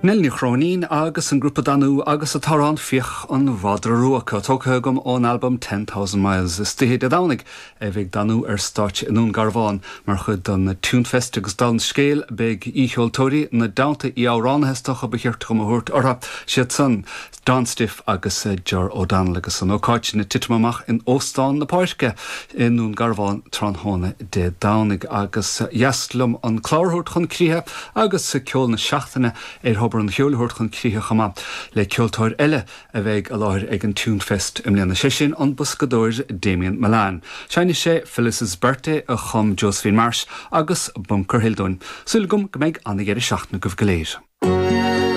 Nell Ní Chróinín agus an grúpa Danú agus an t-amhrán Fiach an Mhadra Rua, tógtha agam ón albam 10,000 Miles. Istoíche Dé Domhnaigh a bheidh Danú ar stáitse i nDún Garbhán mar chuid den Tunefest agus dála an scéil beidh aoicheoltóirí ina dteannta, aoi-amhránaithe is dócha ba chirte dhom a thabhairt orthu, siad san, Don Stiffe agus Ger O'Donnell agus an ócáid sin ag titim amach in Óstán na Páirce i nDún Garbhán tráthnóna Dé Domhnaigh agus ba dheas liom an clár a thabhairt chun críche agus ceol na seachtaine ar Thobar an Cheoil a thabhairt chun críche chomh maith le ceoltóir eile a bheidh i láthair ag an Tunefest i mbliana, sé sin an boscadóir Damien Mullane. Seinnfidh sé Phyllis's Birthday a chum Josephine Marsh agus Bunker Hill dúinn. Súil agam go mbeidh an-dheireadh seachtaine agaibh go léir.